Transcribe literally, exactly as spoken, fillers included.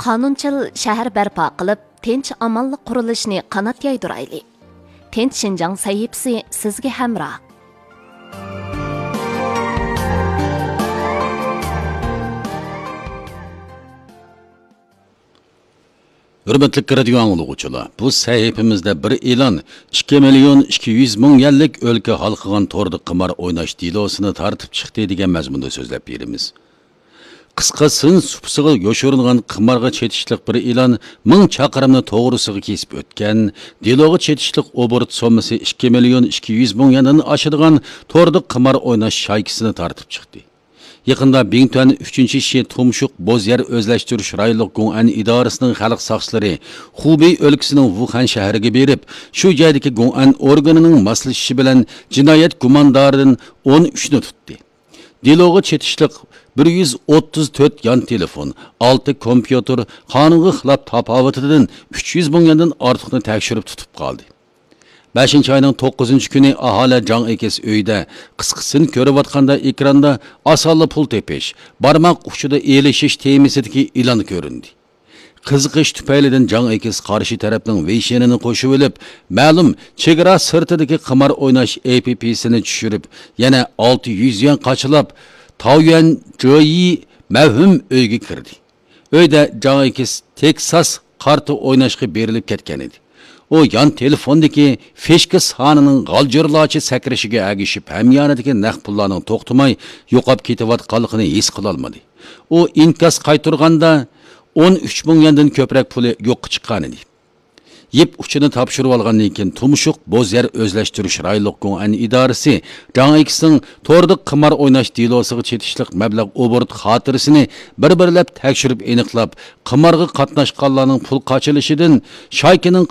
قانۇنچىل شەھەر بەرپا قىلىپ، تىنچ-ئامانلىق قۇرۇلۇشىنى قانات يايدۇرايلى. تىنچ شىنجاڭ سەھىپىسى سىزگە ھەمراھ. ھۆرمەتلىك رادىيو ئاڭلىغۇچىلار، بۇ سەھىپىمىزدە بىر ئېلان، ئىككى مىليون ئىككى يۈز مىڭ يۈەنلىك ئۆلكە ھالقىغان توردا قىمار ئويناش دېلوسىنى تارتىپ چىقتى دېگەن مەزمۇندا سۆزلەپ بېرىمىز. قىسقا سىن سۇپىسىغا يوشۇرۇنغان قىمارغا چېتىشلىق بىر ئېلان مىڭ چاقىرىمنى توغرىسىغا كېسىپ ئۆتكەن، دېلوغا چېتىشلىق ئوبوروت سوممىسى ئىككى مىليون ئىككى يۈز مىڭ يۈەندىن ئاشىدىغان توردا قىمار ئويناش شايكىسىنى تارتىپ چىقتى. يېقىندا بىڭتۈەن ئۈچىنچى شى تۇمشۇق بوز يەر ئۆزلەشتۈرۈش رايونلۇق گوڭئەن ئىدارىسىنىڭ خەلق ساقچىلىرى خۇبېي ئۆلكىسىنىڭ ۋۇخەن شەھىرىگە بېرىپ، شۇ جايدىكى گوڭئەن ئورگىنىنىڭ ماسلىشىشى بىلەن جىنايەت گۇماندارىدىن ئون ئۈچنى تۇتتى. دېلوغا چېتىشلىق بىر يۈز ئوتتۇز تۆت يان تېلېفون، ئالتە كومپيۇتېر، قانۇنغا خىلاپ تاپاۋىتىدىن ئۈچ يۈز مىڭ يۈەندىن ئارتۇقنى تەكشۈرۈپ تۇتۇپ قالدى. بەشىنچى ئاينىڭ توققۇزىنچى كۈنى ئاھالە جاڭ ئېكىس ئۆيىدە قىسقا سىن كۆرۈۋاتقاندا ئېكراندا ئاسانلا پۇل تېپىش، بارماق ئۇچىدا ئېلىشىش تېمىسىدىكى ئېلان كۆرۈندى. قىزىقىش تۈپەيلىدىن جاڭ ئېكىس قارشى تەرەپنىڭ ۋېيشېنىنى قوشۇۋېلىپ، مەلۇم چېگرا سىرتىدىكى قىمار ئويناش ئېپپىسىنى چۈشۈرۈپ، يەنە ئالتە يۈز يۈەن قاچىلاپ، تاۋيۈەن جېيى مەۋھۇم ئۆيگە كىردى. ئۆيدە جاڭ ئېكىس تېكساس قارتا ئويناشقا بېرىلىپ كەتكەن ئىدى. ئۇ يان تېلېفوندىكى فىشكا سانىنىڭ غالجىرلارچە سەكرىشىگە ئەگىشىپ، ھەميانىدىكى نەق پۇللارنىڭ توختىماي يوقاپ كېتىۋاتقانلىقىنى ھېس قىلالمىدى. ئۇ ئىنكاس قايتۇرغاندا، ئون ئۈچ مىڭ يۈەندىن كۆپرەك پۇلى يوققا چىققانىدى. يىپ ئۇچىنى تاپشۇرۇۋالغاندىن كېيىن، تۇمشۇق بوز يەر ئۆزلەشتۈرۈش رايونلۇق گوڭئەن ئىدارىسى جاڭ ئېكىسنىڭ توردا قىمار ئويناش دېلوسىغا چېتىشلىق مەبلەغ ئوبوروت خاتىرىسىنى بىر-بىرلەپ تەكشۈرۈپ ئېنىقلاپ، قىمارغا قاتناشقانلارنىڭ پۇل قاچىلىشىدىن شايكىنىڭ